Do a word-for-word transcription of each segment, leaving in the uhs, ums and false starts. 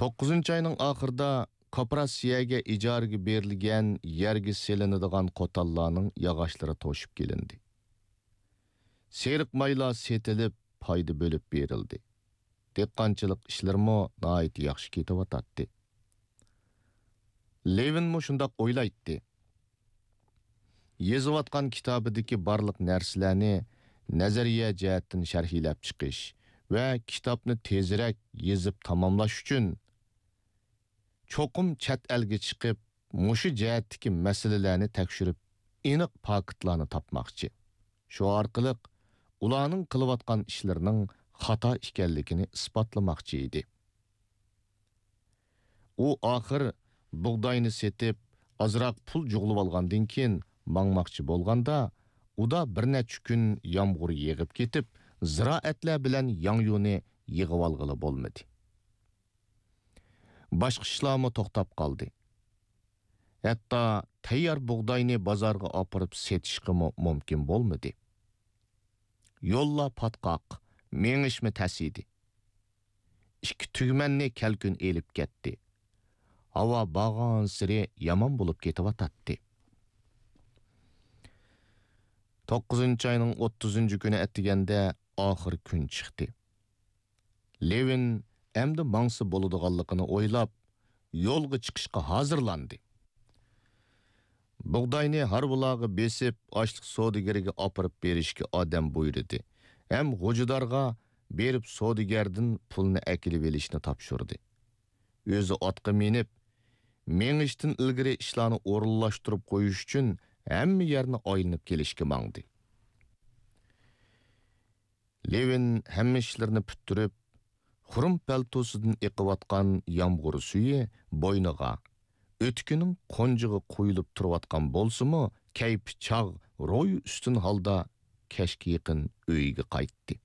توققۇزىنچى ئاينىڭ ئاخىرىدا كوپىراتسىيەگە ئىجارىگە بېرىلگەن يەرگە سېلىنىدىغان قوتانلارنىڭ ياغاچلىرى توشۇپ كېلىندى. سېرىق مايلار سېتىلىپ، پايدا بۆلۈپ بېرىلدى. دېھقانچىلىق ئىشلىرىمۇ ناھايىتى ياخشى كېتىۋاتاتتى. لېۋىنمۇ شۇنداق ئويلايتتى. يېزىۋاتقان كىتابىدىكى بارلىق نەرسىلەرنى نەزەرىيە جەھەتتىن شەرھلەپ چىقىش ۋە كىتابنى تېزرەك يېزىپ تاماملاش ئۈچۈن، چوقۇم چەت ئەلگە چىقىپ، مۇشۇ جەھەتتىكى مەسىلىلەرنى تەكشۈرۈپ، ئېنىق پاكىتلارنى تاپماقچى. شۇ ئارقىلىق ئۇلارنىڭ قىلىۋاتقان ئىشلىرىنىڭ خاتا ئىكەنلىكىنى ئىسپاتلىماقچى ئىدى. ئۇ ئاخىر بۇغداينى سېتىپ، ئازراق پۇل جۇغلىۋالغاندىن كېيىن ماڭماقچى بولغاندا، ئۇدا بىر نەچچە كۈن يامغۇر يېغىپ كېتىپ، زىرائەتلەر بىلەن ياڭيۇنى يىغىۋالغىلى بولمىدى. باشقا ئىشلارمۇ توختاپ قالدى. ھەتتا تەييار بۇغداينى بازارغا ئاپىرىپ سېتىشقىمۇ مۇمكىن بولمىدى. يوللار پاتقاق، مېڭىشمۇ تەس ئىدى. ئىككى تۈگمەننى كەلكۈن ئېلىپ كەتتى. ھاۋا بارغانسېرى يامان بولۇپ كېتىۋاتاتتى. توققۇزىنچى ئاينىڭ ئوتتۇزىنچى كۈنى ئەتىگەندە ئاخىر كۈن چىقتى. لېۋىن ئەمدى ماڭسا بولىدىغانلىقىنى ئويلاپ، يولغا چىقىشقا ھازىرلاندى. بۇغداينى ھارۋىلارغا بېسىپ، ئاشلىق سودىگىرىگە ئاپىرىپ بېرىشكە ئادەم بۇيرۇدى ھەم غوجىدارغا بېرىپ سودىگەردىن پۇلنى ئەكېلىۋېلىشنى تاپشۇردى. ئۆزى ئاتقا مىنىپ، مېڭىشتىن ئىلگىرى ئىشلارنى ئورۇنلاشتۇرۇپ قويۇش ئۈچۈن ھەممە يەرنى ئايلىنىپ كېلىشكە ماڭدى. لېۋىن ھەممە ئىشلىرىنى پۈتتۈرۈپ، خۇرۇم پەلتوسىدىن ئېقىۋاتقان يامغۇر سۈيى بوينىغا، ئۆتۈكىنىڭ قونجىغا قۇيۇلۇپ تۇرۇۋاتقان بولسىمۇ، كەيپى چاغ، روھى ئۈستۈن ھالدا كەچكە يېقىن ئۆيىگە قايتتى.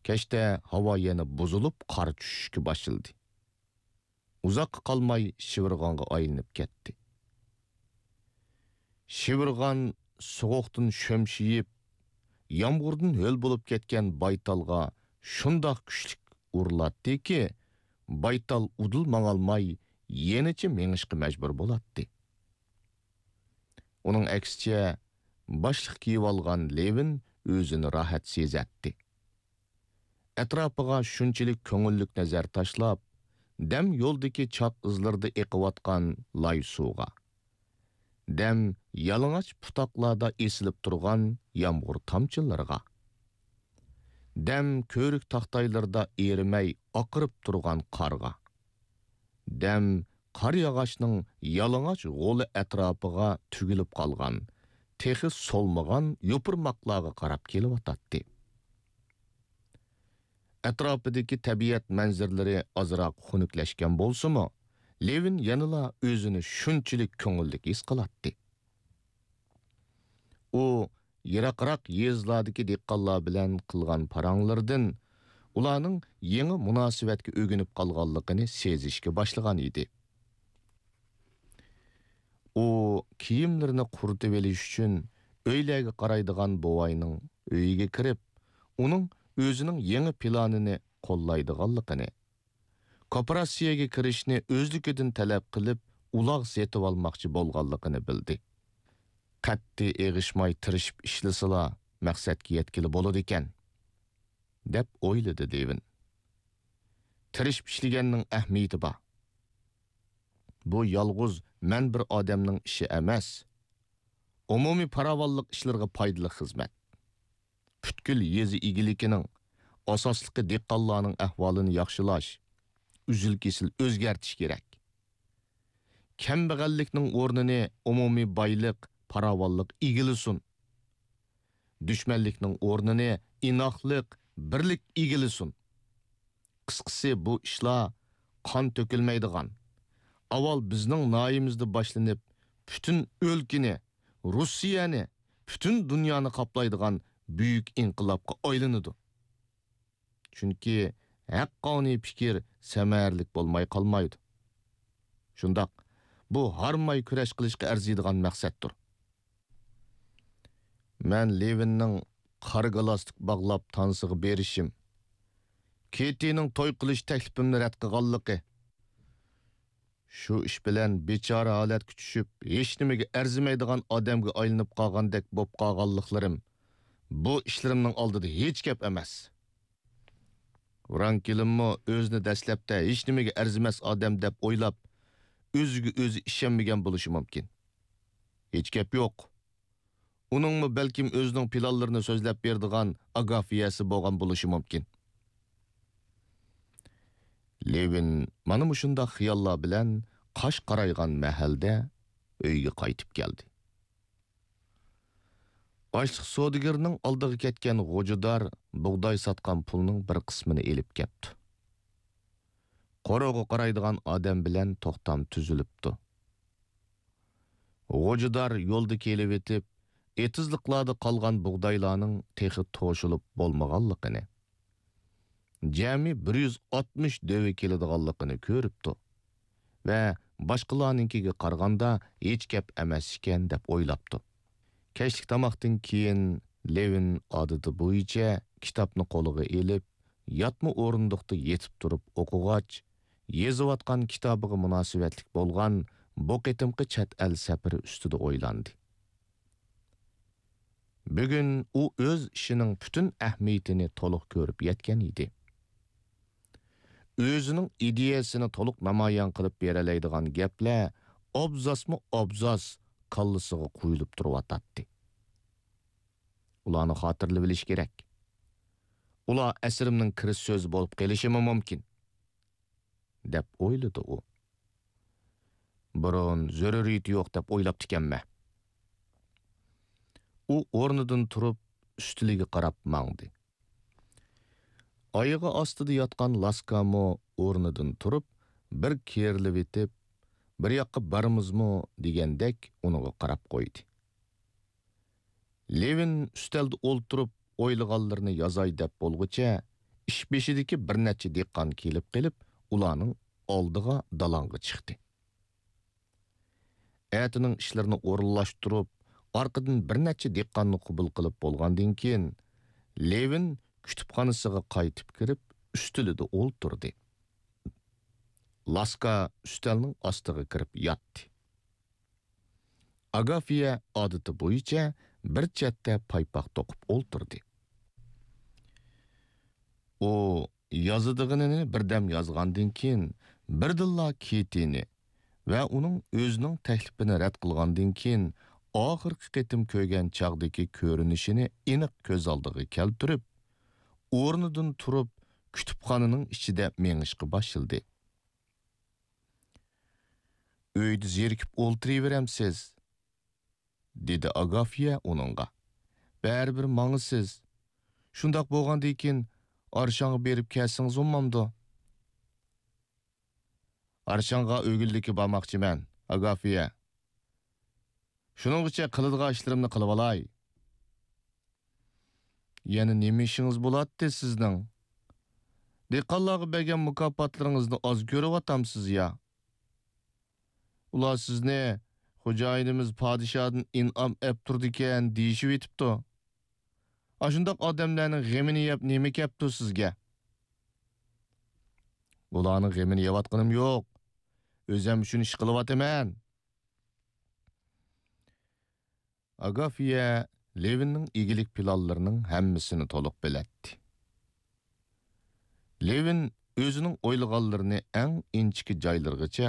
كەچتە ھاۋا يەنە بۇزۇلۇپ، قار چۈشۈشكە باشلىدى. ئۇزاققا قالماي شىۋىرغانغا ئايلىنىپ كەتتى. شىۋىرغان سوغۇقتىن شۈمشىيىپ، يامغۇردىن ھۆل بولۇپ كەتكەن بايتالغا شۇنداق كۈچلۈك ئۇرۇلاتتىكى، بايتال ئۇدۇل ماڭالماي، يەنىچە مېڭىشقا مەجبۇر بولاتتى. ئۇنىڭ ئەكسىچە، باشلىق كىيىۋالغان لېۋىن ئۆزىنى راھەت سېزەتتى. ئەتراپىغا شۇنچىلىك كۆڭۈللۈك نەزەر تاشلاپ، دەم يولدىكى چاق ئىزلىرىدا ئېقىۋاتقان لاي سۇغا، دەم يالىڭاچ پۇتاقلاردا ئېسىلىپ تۇرغان يامغۇر تامچىلىرىغا، دەم كۆۋرۈك تاختايلىرىدا ئېرىمەي ئاقىرىپ تۇرغان قارغا، دەم قار ياغاچنىڭ يالىڭاچ غولى ئەتراپىغا تۈگۈلۈپ قالغان، تېخى سولمىغان يوپۇرماقلارغا قاراپ كېلىۋاتاتتى. ئەتراپىدىكى تەبىئەت مەنزىرىلىرى ئازراق خۇنۈكلەشكەن بولسىمۇ، لېۋىن يەنىلا ئۆزىنى شۇنچىلىك كۆڭۈللۈك ھېس قىلاتتى. ئۇ يىراقراق يېزىلاردىكى دېھقانلار بىلەن قىلغان پاراڭلىرىدىن، ئۇلارنىڭ يېڭى مۇناسىۋەتكە ئۆگىنىپ قالغانلىقىنى سېزىشكە باشلىغان ئىدى. ئۇ كىيىملىرىنى قۇرۇتۇۋېلىش ئۈچۈن ئۆيلەرگە قارايدىغان بوۋاينىڭ ئۆيىگە كىرىپ، ئۇنىڭ ئۆزىنىڭ يېڭى پىلانىنى قوللايدىغانلىقىنى، كوپىراتسىيەگە كىرىشنى ئۆزلۈكىدىن تەلەپ قىلىپ، ئۇلاغ سېتىۋالماقچى بولغانلىقىنى بىلدى. قەتئىي ئېغىشماي تىرىشىپ ئىشلىسىلا، مەقسەتكە يەتكىلى بولىدىكەن، دەپ ئويلىدى لېۋىن. تىرىشىپ ئىشلىگەننىڭ ئەھمىيىتى بار. بۇ يالغۇز مەن بىر ئادەمنىڭ ئىشى ئەمەس. ئومۇمىي پاراۋانلىق ئىشلىرىغا پايدىلىق خىزمەت. پۈتكۈل يېزا ئىگىلىكىنىڭ، ئاساسلىقى دېھقانلارنىڭ ئەھۋالىنى ياخشىلاش، ئۈزۈل-كېسىل ئۆزگەرتىش كېرەك. كەمبەغەللىكنىڭ ئورنىنى ئومۇمىي بايلىق، پاراۋانلىق ئىگىلىسۇن. دۈشمەنلىكنىڭ ئورنىنى ئىناقلىق، بىرلىك ئىگىلىسۇن. قىسقىسى، بۇ ئىشلار قان تۆكۈلمەيدىغان، ئاۋۋال بىزنىڭ ناھىيىمىزدە باشلىنىپ، پۈتۈن ئۆلكىنى، روسىيەنى، پۈتۈن دۇنيانى قاپلايدىغان بۈيۈك ئىنقىلابقا ئايلىنىدۇ. چۈنكى ھەققانىي پىكىر سەمەرىلىك بولماي قالمايدۇ. شۇنداق، بۇ ھارماي كۈرەش قىلىشقا ئەرزىيدىغان مەقسەتتۇر. مەن لېۋىننىڭ قارا گالاستۇك باغلاپ تانسىغا بېرىشىم، كېتىنىڭ توي قىلىش تەكلىپىمنى رەت قىلغانلىقى، شۇ ئىش بىلەن بىچارە ھالەتكە چۈشۈپ، ھېچنېمىگە ئەرزىمەيدىغان ئادەمگە ئايلىنىپ قالغاندەك بولۇپ قالغانلىقلىرىم بۇ ئىشلىرىمنىڭ ئالدىدا ھېچ گەپ ئەمەس. فرانكلىنمۇ ئۆزىنى دەسلەپتە ھېچنېمىگە ئەرزىمەس ئادەم دەپ ئويلاپ، ئۆزىگە ئۆزى ئىشەنمىگەن بولۇشى مۇمكىن. ھېچ گەپ يوق. ئۇنىڭمۇ بەلكىم ئۆزىنىڭ پىلانلىرىنى سۆزلەپ بېرىدىغان ئاگافىيەسى بولغان بولۇشى مۇمكىن. لېۋىن مانا مۇشۇنداق خىياللار بىلەن قاش قارايغان مەھەلدە ئۆيگە قايتىپ كەلدى. ئاشلىق سودىگىرىنىڭ ئالدىغا كەتكەن غوجىدار بۇغداي ساتقان پۇلنىڭ بىر قىسمىنى ئېلىپ كەپتۇ. قورۇغا قارايدىغان ئادەم بىلەن توختام تۈزۈلۈپتۇ. غوجىدار يولدا كېلىۋېتىپ، ئېتىزلىقلاردا قالغان بۇغدايلارنىڭ تېخى توشۇلۇپ بولمىغانلىقىنى، جەمئىي بىر يۈز ئاتمىش دۆۋە كېلىدىغانلىقىنى كۆرۈپتۇ ۋە باشقىلارنىڭكىگە قارىغاندا ھېچ گەپ ئەمەس ئىكەن دەپ ئويلاپتۇ. كەچلىك تاماقتىن كېيىن لېۋىن ئادىتى بويىچە كىتابنى قولىغا ئېلىپ، ياتما ئورۇندۇقتا يېتىپ تۇرۇپ ئوقۇغاچ، يېزىۋاتقان كىتابىغا مۇناسىۋەتلىك بولغان بۇ قېتىمقى چەت ئەل سەپىرى ئۈستىدە ئويلاندى. بۈگۈن ئۇ ئۆز ئىشىنىڭ پۈتۈن ئەھمىيىتىنى تولۇق كۆرۈپ يەتكەن ئىدى. ئۆزىنىڭ ئىدىيەسىنى تولۇق نامايان قىلىپ بېرەلەيدىغان گەپلەر ئابزاسمۇ ئابزاس كاللىسىغا قۇيۇلۇپ تۇرۇۋاتاتتى. ئۇلارنى خاتىرىلىۋېلىش كېرەك. ئۇلار ئەسىرىمنىڭ كىرىش سۆزى بولۇپ قېلىشىمۇ مۇمكىن، دەپ ئويلىدى ئۇ. بۇرۇن زۆرۈرىيىتى يوق دەپ ئويلاپتىكەنمەن. ئۇ ئورنىدىن تۇرۇپ، ئۈستىلىگە قاراپ ماڭدى. ئايىغى ئاستىدا ياتقان لاسكامۇ ئورنىدىن تۇرۇپ، بىر كېرىلىۋېتىپ، بىر ياققا بارىمىزمۇ دېگەندەك ئۇنىڭغا قاراپ قويدى. لېۋىن ئۈستەلدە ئولتۇرۇپ ئويلىغانلىرىنى يازاي دەپ بولغۇچە، ئىش بېشىدىكى بىر نەچچە دېھقان كېلىپ قېلىپ، ئۇلارنىڭ ئالدىغا دالاڭغا چىقتى. ئەتىنىڭ ئىشلىرىنى ئورۇنلاشتۇرۇپ، ئارقىدىن بىر نەچچە دېھقاننى قوبۇل قىلىپ بولغاندىن كېيىن، لېۋىن كۇتۇپخانىسىغا قايتىپ كىرىپ، ئۈستىلىدە ئولتۇردى. لاسكا ئۈستەلنىڭ ئاستىغا كىرىپ ياتتى. ئاگافىيە ئادىتى بويىچە بىر چەتتە پايپاق توقۇپ ئولتۇردى. ئۇ يازىدىغىنىنى بىردەم يازغاندىن كېيىن، بىردىنلا كېتىنى ۋە ئۇنىڭ ئۆزىنىڭ تەكلىپىنى رەت قىلغاندىن كېيىن ئاخىرقى قېتىم كۆرگەن چاغدىكى كۆرۈنۈشىنى ئېنىق كۆز ئالدىغا كەلتۈرۈپ، ئورنىدىن تۇرۇپ، كۇتۇپخانىنىڭ ئىچىدە مېڭىشقا باشلىدى. «ئۆيدە زېرىكىپ ئولتۇرۇۋېرەمسىز؟» دېدى ئاگافىيە ئۇنىڭغا. «بەرىبىر ماڭىسىز. شۇنداق بولغاندىكىن، ئارشاڭغا بېرىپ كەلسىڭىز بولمامدۇ؟» «ئارشاڭغا ئۆگۈنلۈككە بارماقچىمەن، ئاگافىيە. شۇنىڭغىچە قىلىدىغان ئىشلىرىمنى قىلىۋالاي.» «يەنە نېمە ئىشىڭىز بولاتتى سىزنىڭ؟ دېھقانلارغا بەرگەن مۇكاپاتلىرىڭىزنى ئاز كۆرۈۋاتامسىز يا؟ ئۇلار سىزنى خوجايىنىمىز پادىشاھدىن ئىنئام ئەپ تۇرىدىكەن دېيىشىۋېتىپتۇ. ئاشۇنداق ئادەملەرنىڭ غېمىنى يەپ نېمە كەپتۇ سىزگە؟» «ئۇلارنىڭ غېمىنى يەۋاتقىنىم يوق. ئۆزۈم ئۈچۈن ئىش قىلىۋاتىمەن.» ئاگافىيە لېۋىننىڭ ئىگىلىك پىلانلىرىنىڭ ھەممىسىنى تولۇق بىلەتتى. لېۋىن ئۆزىنىڭ ئويلىغانلىرىنى ئەڭ ئىنچىكە جايلىرىغىچە